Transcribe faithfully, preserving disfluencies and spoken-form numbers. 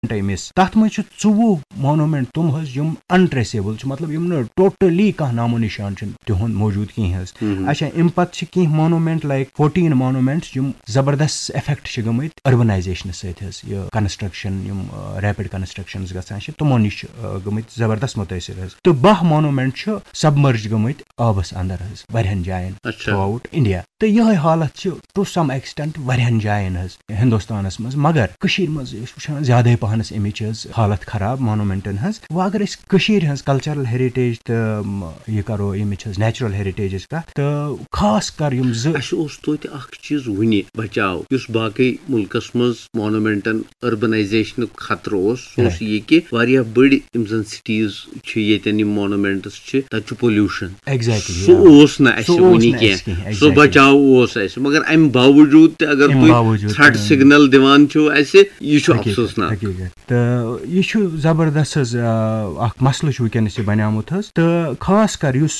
مونومینٹے مِس۔ تَتھ منٛز چھِ ژوٚوُہ مونومینٹ تِم حظ یِم انٹریسیبل چھِ، مطلب یِم نہٕ ٹوٹلی کانٛہہ نامو نِشان چھُنہٕ تِہُنٛد موجود کینٛہہ حظ۔ اچھا، اَمہِ پَتہٕ چھِ کینٛہہ مونومینٹ لایک فورٹیٖن مونومینٹس یِم زبردست افیکٹ چھِ گٔمٕتۍ اربنائزیشن سۭتۍ حظ، یہِ کنسٹرکشن، یِم ریپڈ کنسٹرکشنز گژھان چھِ، تِمو نِش چھِ آ، گٔمٕتۍ زبردست مُتٲثر حظ۔ تہٕ باہ مونومینٹ چھِ سبمرج گٔمٕتۍ آبس اندر حظ واریاہن جاین اچھا۔ Through out India. تہٕ یِہے حالت چھِ ٹو سم ایکسٹینٹ واریاہن جاین حظ ہندوستانس منٛز، مگر کٔشیٖر منٛز چھِ أسۍ وٕچھان زیادے پہنس امِچ حظ حالت خراب مونومینٹن ہٕنٛز۔ وۄنۍ اگر أسۍ کٔشیٖرِ ہٕنٛز کلچرل ہیریٹیج تہٕ م، یہِ کرو امِچ حظ نیچرل ہیریٹیجٕچ کتھ، تہٕ خاص کر یِم زٕ اَسہِ اوس توتہِ اکھ چیٖز وُنہِ بچاو، یُس باقٕے مُلکس منٛز مونومینٹن اربنائزیشنُک خطرٕ اوس، سُہ اوس Right۔ یہِ کہِ واریاہ بٔڑۍ یِم زن سٹیٖز چھِ، ییٚتٮ۪ن یِم مونومینٹس چھِ، تتہِ چھُ پولوشن۔ Exactly، سُہ yeah۔ اوس نہٕ اَسہِ سُہ اوس وُنہِ نہٕ کینٛہہ۔ اَسہِ کینٛہہ، سُہ exactly۔ بچاو اوس اَسہِ، مگر امہِ باوجوٗد تہِ اگر اَمہِ تُہۍ باوجوٗد تھریٹ تہِ۔ سگنل دِوان چھِو اَسہِ، یہِ چھُ حقیٖقت، افسوسناک۔ حقیٖقت۔ تہٕ یہِ چھُ زبردست حظ، آ، اکھ مسلہٕ چھُ وٕنکیٚنس یہِ بنیومُت حظ۔ تہٕ خاص کر یُس